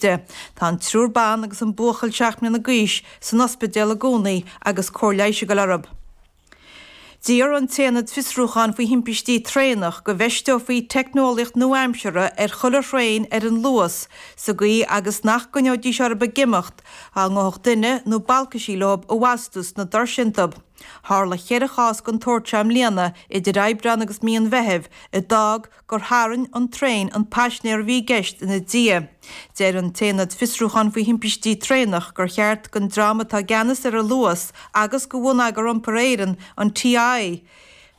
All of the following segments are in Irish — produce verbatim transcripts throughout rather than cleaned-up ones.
Tá an triúr ban agus an buachaill seacht mbliana d'aois san ospidéal i gcónaí agus cóir leighis ag dul orthu. D'iarr an tAonad Fiosrúcháin faoi Thimpistí Traenach go bhfeisteofaí teicneolaíocht nua-aimseartha ar chuile thraein ar an Luas sa gcaoi agus nach gcoinneoidís orthu ag imeacht dá ngabhfadh duine nó balcaisí leo i bhfastú sna doirse iontu. Tharla ceithre chás den tsórt seo i mbliana idir Aibreán agus mí an Mheithimh a d'fhág gur tharraing an traein an paisinéir a bhí i gceist ina diaidh. Deir an tAonad Fiosrúcháin faoi Thimpistí Traenach gur cheart don dream atá i gceannas ar an Luas agus do Bhonneagar Iompair Éireann, an TII,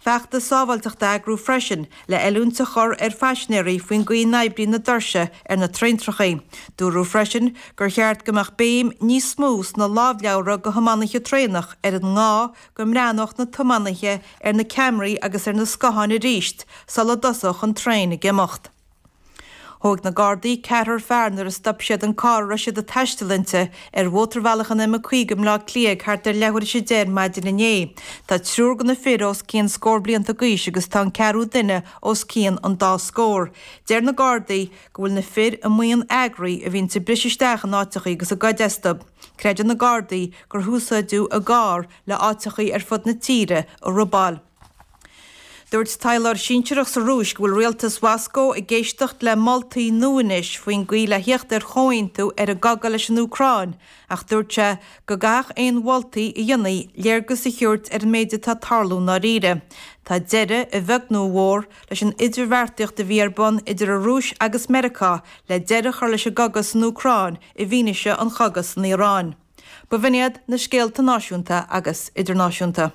feachtas sábháilteachta a eagrú freisin le oiliúint a chur ar phaisinéirí faoin gcaoi a n-oibríonn na doirse ar na traentrachaí. Dúradh freisin gur cheart go mbeadh béim níos mó sna lámhleabhra do thiománaithe traenach ar an ngá go mbreathnódh na tiománaithe ar na ceamaraí agus ar na scátháin arís sula dtosódh an traein ag imeacht. Thóg na Gardaí ceathrar fear nuair a stop siad an carr a raibh siad ag taisteal inti ar mhótarbhealach an M caoga i mBleá Cliath thart ar leathuair tar éis a deich ar maidin inné. Tá triúr de na fir os cionn scór blianta d'aois agus tá an ceathrú duine os cionn an dá scór. Deir na Gardaí go bhfuil na fir i mbuíon eagraithe a bhíonns ag briseadh isteach in áiteachaí agus ag goid astu. Creideann na Gardaí gur húsáideadh a gcarr le áiteachaí ar fud na tíre a robáil. Dúirt taidhleoir sinsearach sa Rúis go bhfuil rialtas Mhoscó ag éisteacht le moltaí nua anois faoin gcaoi le theacht ar chomhaontú ar an gcogadh leis an Úcráin, ach dúirt sé go gcaithfeadh aon mholtaí a dhéanfaí léargas a thabhairt ar an méid atá ag tarlú i ndáiríre. Tá deireadh, a bheag nó a mhór, leis an idirbheartaíocht a bhí ar bun idir an Rúis agus Meiriceá le deireadh a chur leis an gcogadh san Úcráin i bhfianaise an chogaidh san Iaráin. B'in iad na scéalta náisiúnta agus idirnáisiúnta.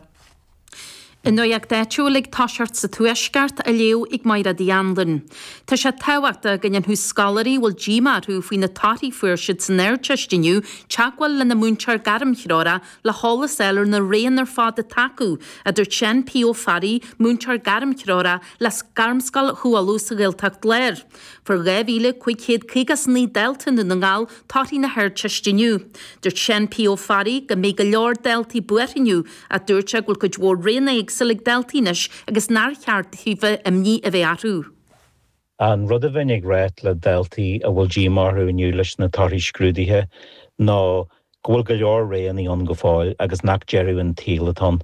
An nuacht áitiúil ag toiseacht sa Tuaisceart á léamh ag Máire Uí Anluain. Tá sé tábhachtach go ndéanfadh scoláirí a bhfuil díomá orthu faoi na torthaí a fuair siad san Ardteist inniu teagmháil lena múinteoir gairmthreorach le heolas a fháil ar na roghanna ar fad atá acu, a dúirt Seán P. Ó Fearraigh, múinteoir gairmthreorach le Gairmscoil Chú Uladh sa Ghaeltacht Láir. Fuair dhá mhíle cúig chéad caoga is naoi dalta i nDún na nGall torthaí na hArdteiste inniu. Dúirt Seán P. Ó Fearraigh go mbeidh go leor daltaí buartha inniu ach dúirt sé go bhfuil cuid mhór roghanna éagsúla ag daltaí anois agus nár cheart daofa imní a bheith orthu. An rud a bheinn ag rá le daltaí a bhfuil díomá orthu inniu leis na torthaí scrúdaithe ná go bhfuil go leor roghanna ann go fóill agus nach deireadh an tsaoil atá ann.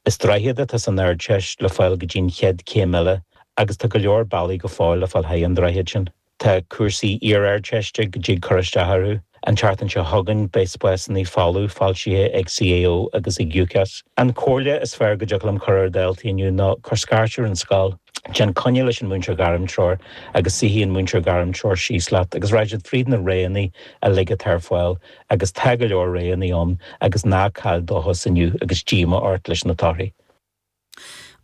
Is droichead atá san Ardteist le fáil go dtí an chéad chéim eile agus tá go leor bealaí go fóill le fáil thar an droichead sin. Tá cúrsaí iar-Ardteiste go dtig cur isteach orthu. An tseachtain seo chugainn beidh spásanna folamh foilsithe ag CAO agus ag UCAS. An chomhairle is fearr go dtiocfadh liom cur ar dhaltaí inniu ná cuir scairt ar an scoil. Déan coinne leis an múinteoir gairmtreoir agus suífidh an múinteoir gairmtreoir síos leat agus raghaidh siad fríd na roghanna uilig atá ar fáil agus tá go leor roghanna ann agus ná caill dóchas inniu agus díomá ort leis na torthaí.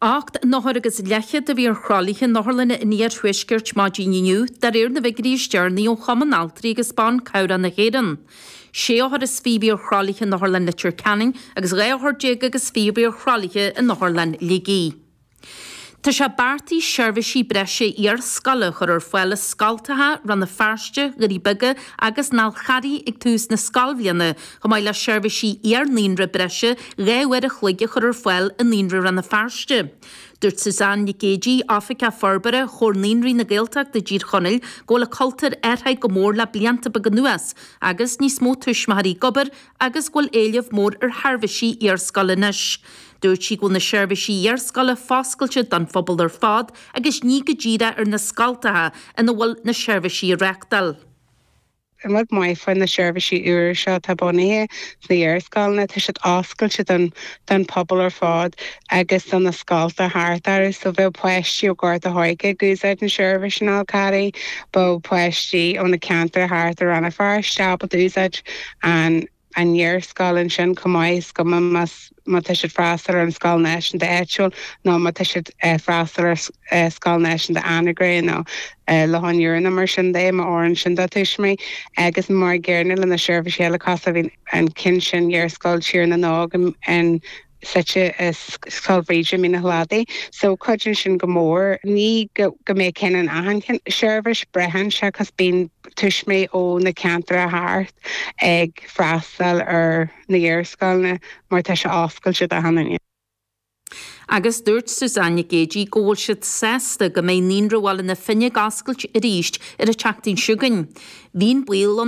Ocht n-othar agus leathchéad a bhí ar thralaithe in otharlanna an iarthuaiscirt maidin inniu, de réir na bhfigiúirí is deireanaí ó Chumann Altraí agus Ban Cabhrach na hÉireann. Sé othar is fiche a bhí ar thralaithe in Otharlann Leitir Ceanainn agus dhá othar déag agus fiche a bhí ar thralaithe in Otharlann Shligigh. Tá sé beartaithe seirbhísí breise iarscoile a chur ar fáil i scoltacha Rann na Feirste, Dhoirí Beaga agus an Fhál Charraigh ag tús na scoilbhliana, chomh maith le seirbhísí iar-naíonra breise dhá uair a chloig a chur ar fáil i Naíonra Rann na Feirste. Dúirt Suzanne Nic Géidigh, Oifigeach Forbartha Chomhar Naíonraí na Gaeltachta i dTír Chonaill, go bhfuil an cultúr athraithe go mór le blianta beaga anuas agus níos mó tuismitheoirí ag obair agus go bhfuil éileamh mór ar sheirbhísí iarscoile anois. Dúirt sí go bhfuil na seirbhísí iarscoile foscailte don phobal ar fad agus ní go díreach ar na scoltacha ina bhfuil na seirbhísí á reáchtáil. An rud maith faoi na seirbhísí úra seo atá bunaithe sna hiarscoileanna, tá siad oscailte don don phobal ar fad agus do na scolta thart orthu. So bheadh páistí ó Ghort a' Choirce ag úsáid na seirbhís in Fhál Carraigh, bheadh páistí ó na ceantair thart ar Rann na Feirste ábalta úsáid an an iarscoil ansin chomh maith, is cuma más má tá siad freastal ar an scoil náisiúnta áitiúil nó má tá siad freastal ar scoil náisiúnta Anagaire nó Loch an Iúir nó mar sin de, má oireann sin dá tuismitheoirí. Agus mar an gcéanna le na seirbhísí eile cosúil bhí an ceann sin Iarscoil Tír na nÓg in suite i Scoil Bhríde Mín an Chladaigh. So cuidíonn sin go mór. Ní go go mbeidh ceann in achan seirbhís, braitheann sé cos bíonn tuismitheoirí ó na ceantair thart ag freastal ar na hiarscoileanna mar tá sé oscailte d'achan duine. Agus dúirt Suzanne Nic Géidigh go bhfuil siad sásta go mbeidh Naíonra Bhaile na Finne ag oscailt arís ar an tseachtain seo chugainn. Bhí an baol ann